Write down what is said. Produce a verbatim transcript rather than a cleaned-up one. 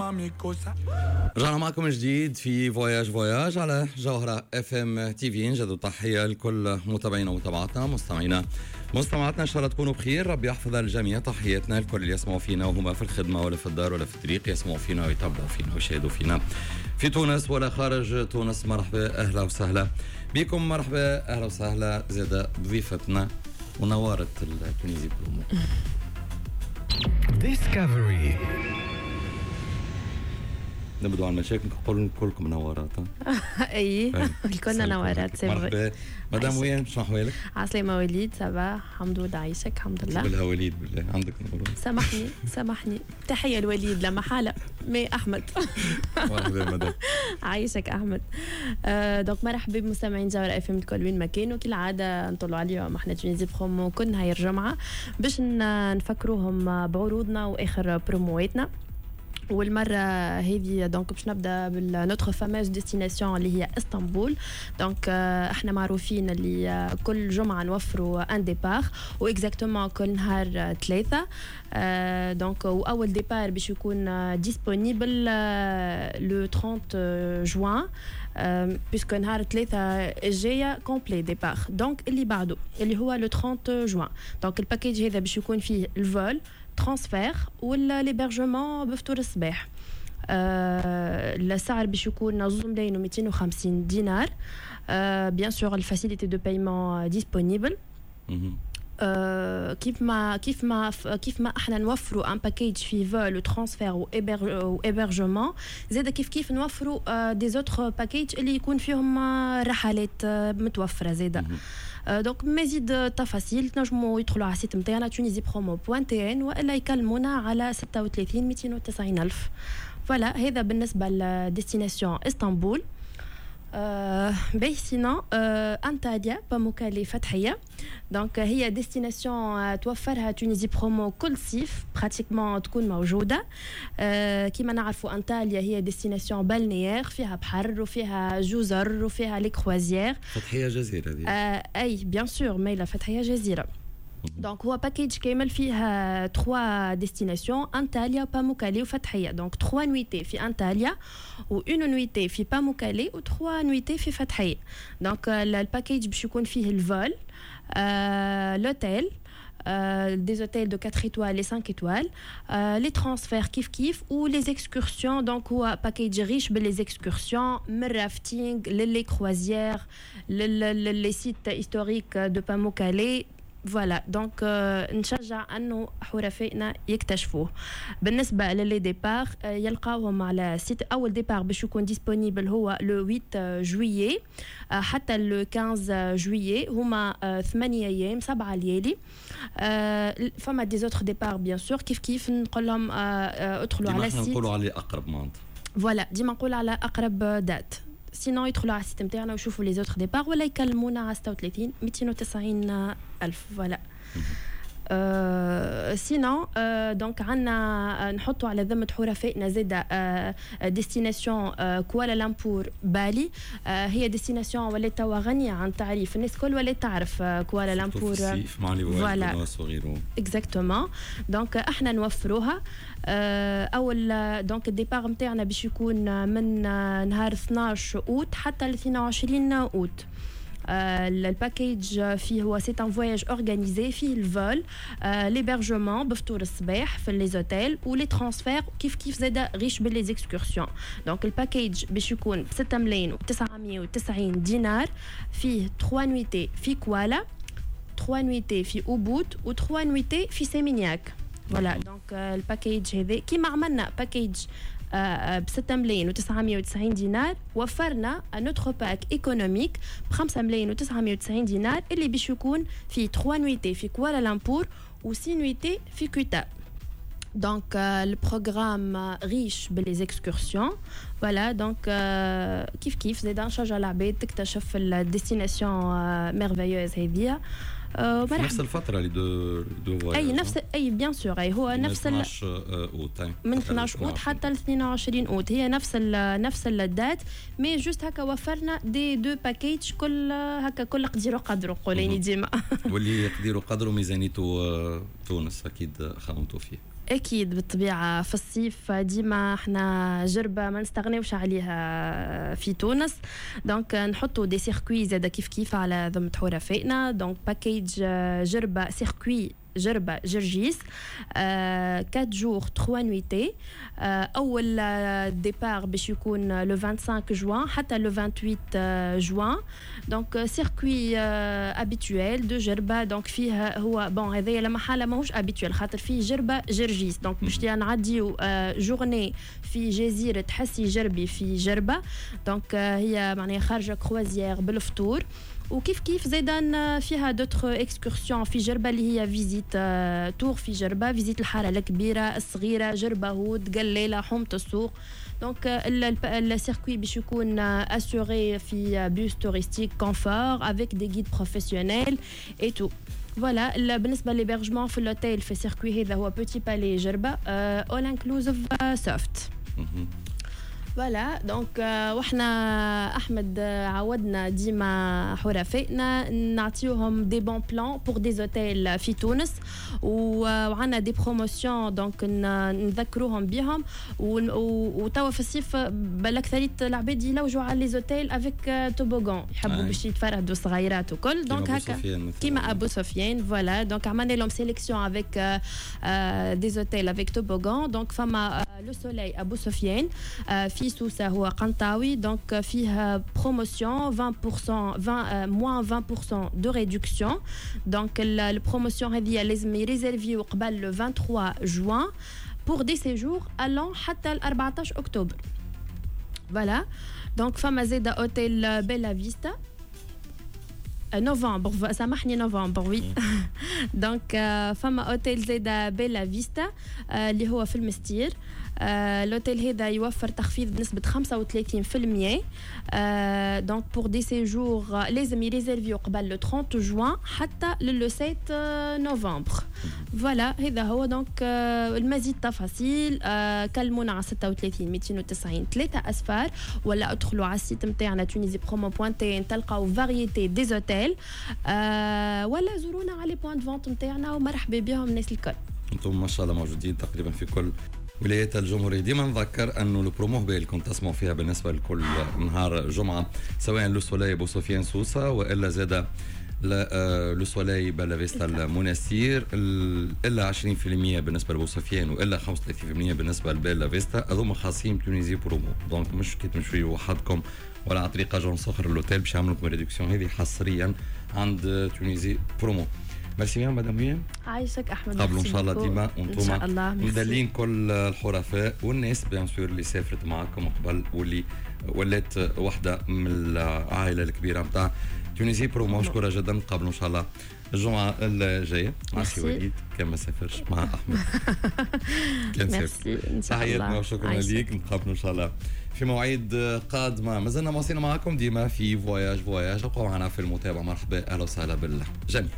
mami cosa. رجعنا معكم من جديد في voyage voyage على جوهرة FM TV. نجدد تحية لكل متابعينا ومتابعاتنا، مستمعينا مستمعاتنا، ان شاء الله تكونوا بخير، ربي يحفظ الجميع. تحياتنا لكل اللي يسمعوا فينا وهما في الخدمة ولا في الدار ولا في الطريق، يسمعوا فينا ويتابعوا فينا ويشاهدوا فينا في تونس ولا خارج تونس. مرحبا، اهلا وسهلا بكم، مرحبا اهلا وسهلا زاد بضيفتنا ونوارة ال Tunisie Promo. Discovery. نبدو على المشاكل، نقول كلكم نوارات. اي، الكلنا نوارات، c'est vrai. مرحبا مدام وين، شنو احوالك؟ عسلامة وليد، ça va الحمد لله، عايشك، الحمد لله. بالها وليد، بالله عندك نور. سامحني سامحني، تحية الوليد لما حالة mais أحمد. مرحبا مدام. عايشك أحمد. آه donc مرحبا بمستمعين جوهرة FM الكل وين ما كانوا. كالعادة نطلعوا عليهم احنا Tunisie Promo كل نهار الجمعة باش نفكروهم بعروضنا وآخر برومواتنا، والمرة هذه donc باش نبدا بال notre fameuse destination اللي هي اسطنبول. donc احنا معروفين اللي كل جمعه نوفروا un départ و exactement كل نهار ثلاثه. donc واول départ باش يكون disponible le trente juin، puisque نهار ثلاثة الجاية complet départ، donc اللي بعده اللي هو le trente juin. donc ال package هذا باش يكون فيه ال vol، transfert ولا l'hébergement بفطور الصباح. آه السعر باش يكون زوز ملايين ومئتين وخمسين دينار، آه bien sûr ال facilité de paiement disponible. كيف ما كيف ما كيف ما احنا نوفروا un package في vol و transfert و hébergement، زاد كيف كيف نوفروا des autres packages اللي يكون فيهم رحلات متوفرة زاده. donc مزيد تفاصيل تنجموا يدخلوا على ال site نتاعنا tunisiepromo point T N والا يكلمونا على ستة وثلاثين مئتين وتسعين الف. voilà، هذا بالنسبة ل destination اسطنبول. آه باهي، sinon آه انتاليا، باموكالي، فتحيه. donc هي destination توفرها Tunisie Promo كل صيف pratiquement تكون موجوده. آه كيما نعرفوا انتاليا هي destination balnéaire، فيها بحر وفيها جزر وفيها les croisières. فتحيه جزيرة هذه. آه اي bien sûr، ميلا فتحيه جزيره. donc هو package كامل فيها trois destinations، انتاليا، باموكالي وفتحيه. donc trois nuitées في انتاليا و une nuitée في باموكالي و trois nuitées في فتحيه. donc ال package باش يكون فيه ال vol، l'hôtel، des hôtels de quatre étoiles et cinq étoiles، euh, les transferts كيف كيف و les excursions. donc هو package riche les excursions من rafting، les croisières، les sites historiques de Pamukkale. voilà، donc نشجع انه حرفائنا يكتشفوه. بالنسبة ل les départs يلقاوهم على site. اول départ باش يكون disponible هو le huit juillet حتى le quinze juillet، هما ثمانية ايام سبعة ليالي. فما des autres départs bien sûr، كيف كيف نقول لهم ادخلوا على ال site. نقولوا على اقرب معناتها. voilà، ديما نقول على اقرب date، sinon يدخلوا على ال site نتاعنا ويشوفوا les autres départs ولا يكلمونا على ستة وثلاثين مئتين وتسعين الف. voilà، أه sinon أه donc عندنا نحطوا على ذمه حرفائنا زاده أه destination أه كوالالمبور بالي. أه هي destination ولات توا غنية عن التعريف، الناس الكل ولات تعرف كوالالمبور. الصيف مع les voilà وغيره. exactement، donc احنا نوفروها. أه اول donc ال départ نتاعنا باش يكون من نهار اثناش اوت حتى ل اثنين وعشرين اوت. ال package فيه هو c'est un voyage organisé، فيه ال vol، l'hébergement بفطور الصباح في les hôtels و les transferts، كيف كيف زاده riche ب les excursions. donc ال package باش يكون ب ستة ملايين وتسعمية وتسعين دينار، فيه trois nuitées في كوالا، trois nuitées في اوبود و trois nuitées في سيمينياك. voilà، donc ال package هذا كيما عملنا package ب ستة ملايين وتسعمية وتسعين دينار، وفرنا un autre pack économique ب خمسة ملايين وتسعمية وتسعين دينار اللي باش يكون في trois nuitées في كوالالمبور و six nuitées في كوتا. donc ال programme riche ب les excursions. voilà، donc كيف كيف زيد نشجع العباد تكتشف ال destination merveilleuse هذيا. في نفس الفترة les deux deux اي نفس اي bien sûr، اي هو نفس ال اثناش اوت. من اثناش اوت حتى ل اثنين وعشرين اوت، هي نفس ال نفس ال date، mais juste هكا وفرنا des deux packages، كل هكا كل قدير وقدره نقول ديما. واللي يقدر قدره ميزانيته تونس اكيد خممتوا فيه. اكيد بالطبيعه، في الصيف ديما احنا جربه ما نستغناوش عليها في تونس، donc نحطوا des circuits زاده كيف كيف على ذمه حرفائنا. donc package جربه، circuit جربة جرجيس، quatre jours trois nuitées. اول départ باش يكون le vingt-cinq جوان حتى le vingt-huit juin. donc circuit habituel de جربة، donc فيه هو bon هذايا لا محالة ماهوش habituel خاطر فيه جربة جرجيس، donc باش نعديو journée في جزيرة حسي جربي في جربة. donc هي معناها خارجة croisière بالفطور، وكيف كيف زيدا فيها d'autres excursions في جربه، اللي هي visite tour في جربه، visite الحارة الكبيره، الصغيره، جربه هود، قلاله، حومه السوق. donc ال circuit باش يكون assuré في bus touristique confort avec des guides professionnels et tout. voilà، بالنسبة l'hébergement في l'hôtel في ال circuit هذا هو Petit Palais جربه، all inclusive soft. voilà، donc وحنا احمد عودنا ديما حرفائنا نعطيوهم des bons plans pour des hôtels في تونس، وعندنا des promotions، donc نذكروهم بهم. وتوا في الصيف بالاكثريه العباد يلوجوا على les hôtels avec toboggan، يحبوا باش يتفرهدوا صغيرات وكل، donc هكا كيما ابو سفيان. voilà، donc عملنا لهم sélection avec des hôtels avec toboggan. donc فما Le Soleil ابو سفيان في سوسة، هو قنطاوي، donc فيه promotion vingt pour cent، vingt moins vingt pour cent de réduction. donc ال promotion هذه لازم يريزيرفيو قبل le vingt-trois juin pour des séjours allant حتى ال أربعطاش اكتوبر. voilà، donc فما زاده hôtel Bella Vista، نوفمبر، سامحني، نوفمبر، oui. donc فما اوتيل زاده Bella Vista اللي هو في المستير. l'hôtel هذا يوفر تخفيض بنسبة خمسة وثلاثين في المية، donc pour des séjours لازم يريزيرفيو قبل le trente جوان حتى le sept نوفمبر. voilà، هذا هو. donc المزيد تفاصيل كلمونا على ستة وثلاثين ميتين وتسعين ثلاثة أصفار، ولا ادخلوا على ال site نتاعنا Tunisie Promo point tn، تلقاو variété des hôtels، ولا زورونا على les points de vente نتاعنا، ومرحبا بهم الناس الكل. انتم ما شاء الله موجودين تقريبا في كل ولايات الجمهورية. ديما نذكر أنه البرومو اللي كنت تسمعوا فيها بالنسبة لكل نهار جمعة، سواء Le Soleil بو سفيان سوسة وإلا زاد Le Soleil Bella Vista المنستير، الا عشرين في المية بالنسبة لبو سفيان والا خمسة وثلاثين في المية بالنسبة ل Bella Vista، هذوما خاصين Tunisie Promo. donc مش كي تمشوا وحدكم ولا عن طريق agence اخر l'hôtel باش يعملوا لكم réduction، هذه حصريا عند Tunisie Promo. merci bien madame هيام. عايشك احمد. قبلوا ان شاء الله ديما. وانتم ان شاء الله. مدلين كل الحرفاء والناس bien sûr اللي سافرت معاكم قبل واللي ولات واحدة من العائلة الكبيرة نتاع Tunisie Promo. مشكورة جدا، نقابلوا ان شاء الله الجمعة الجاية مع سي وليد كان ما سافرش، مع احمد كان سافر. تحياتنا وشكرا ليك، نتقابلوا ان شاء الله في مواعيد قادمه. مازلنا مواصلين معكم ديما في voyage voyage، ابقوا معنا في المتابعه. مرحبا، اهلا وسهلا بالجميع.